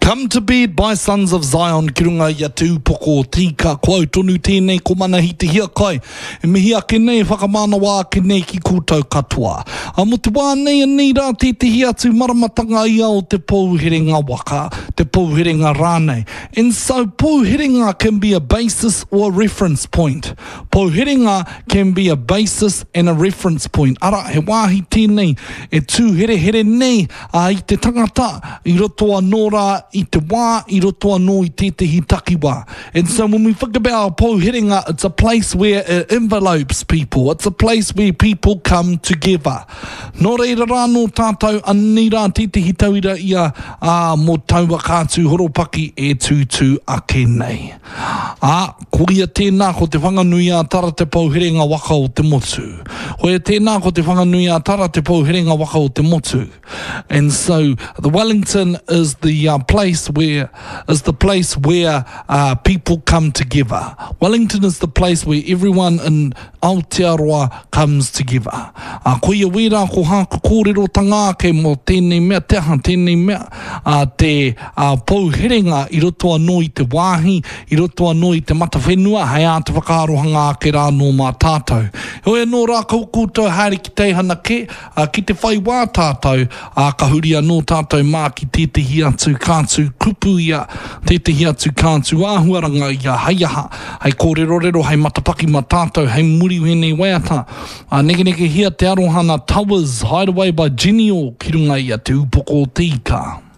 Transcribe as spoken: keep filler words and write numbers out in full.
Come to Bed by Sons of Zion ki runga i a Te Upoko o Te Ika. Ko au tonu tēnei ko Manahi Te Hiakai. E mihi ake nei, e whakamānawa ake nei ki koutou katoa. A mo te wā nei anei rā tētehi atu maramatanga ia o te pouherenga waka, te pouherenga rānei. And so pouherenga can be a basis or a reference point. Pouherenga can be a basis and a reference point. Ara, he wāhi tēnei e tū herehere nei a, i te tangata i roto anō rā i te wā, i roto anō i tētehi takiwā. And so when we think about a pouherenga, it's a place where it envelopes people. It's a place where people come together. Nō reira rā nō tātou anei rā tētehi tauira ia ā, mō taua kātū horopaki e tūtū ake nei. Ā, koia tēnā ko Te Whanganui-ā-Tara te pouherenga waka o te motu. Koia tēnā ko Te Whanganui-ā-Tara te pouherenga waka o te motu. And so the Wellington is the uh, place where is the place where uh, people come together. Wellington is the place where everyone in Aotearoa comes together. Uh, koia wērā ko hāku kōrerotanga ake mō tēnei mea, te aha tēnei mea, uh, te uh, pouherenga i roto anō i te wāhi, i roto anō i te matawhenua, hei āta whakaarohanga ake rā nō mā tātou. Heoi anō rā kau koutou haere ki teihana kē, uh, ki te whai wā tātou, ā, ka huri anō tātou mā ki tētehi atu kātū kupu ia, tētehi atu kātū āhuaranga ia, hei aha, hei kōrerorero, hei matapaki mā tātou, hei muri wēnei waiata. Ā, nekenekehia te aroha nā Towers, Hideaway by Genial ki runga i a Te Upoko o Te Ika.